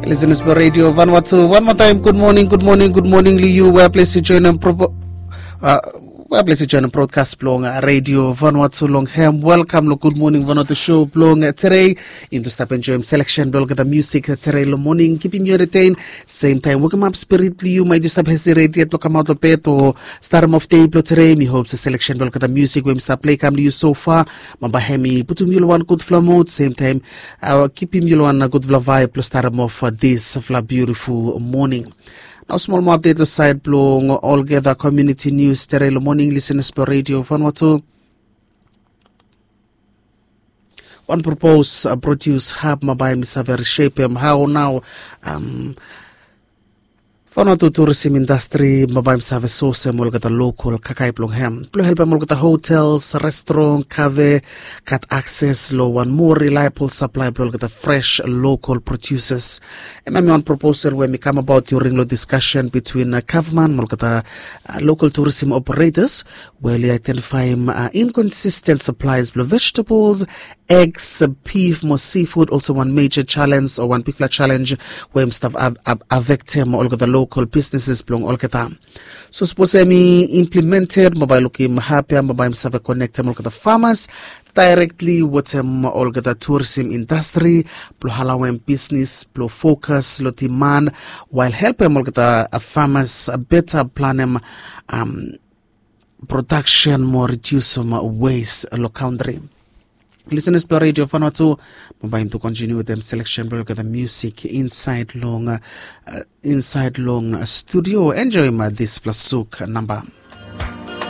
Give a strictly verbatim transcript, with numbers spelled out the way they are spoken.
Listeners blong Radio Vanuatu, one more time, good morning, good morning, good morning long yu. Wea ples yu joinim pro- uh, wea ples yu joinim broadcast blong uh, Radio Vanuatu long hem. Welcome long Good Morning Vanuatu show blong uh, today. Yumi tu stap enjoim selection blong olgeta music uh, today long morning. Kipim yu entertain. Same time, wokem ap spirit blong yu. Mai tu stap hesitate yet blong kamaot long bed o start off day blong today. Mi hope se selection blong olgeta music we mi stap play kam long yu so far, ma bae hem i putum yu long wan gudfala mood. Same time, uh, kipim yu long wan gudfala vibe blong start off uh, this fala beautiful morning. Nao smol moa update long side blong olgeta community news today long morning, listeners blong Radio Vanuatu. Wan propose uh, produce hub ma bae mi save reshapem how nao um, Vanuatu tourism industry ma bae mi save sosem olgeta local kakai blong hem blong helpem olgeta hotels, restaurant, cafe gat access long wan more reliable supply blong olgeta fresh local producers. Em em wan proposal we mi kam about during long discussion between uh, government ma olgeta uh, local tourism operators, we oli identify uh, inconsistent supplies blong vegetables, eggs, beef mo seafood. Also wan major challenge o wan bigfala challenge we im stap affectem olgeta local businesses blong olgeta. So sapos em i implemented, mo bae lukim hapia mo bae im save konektem olgeta farmers directly wetem olgeta tourism industry blong alawem business blong focus long demand, while helpem olgeta farmers beta planem um, production mo reducem waste long country. Listeners blong Radio Vanuatu, mo bae yumi tu continue wetem selection blong olgeta music inside long uh, inside long uh, studio. Enjoim uh, this fala suk number.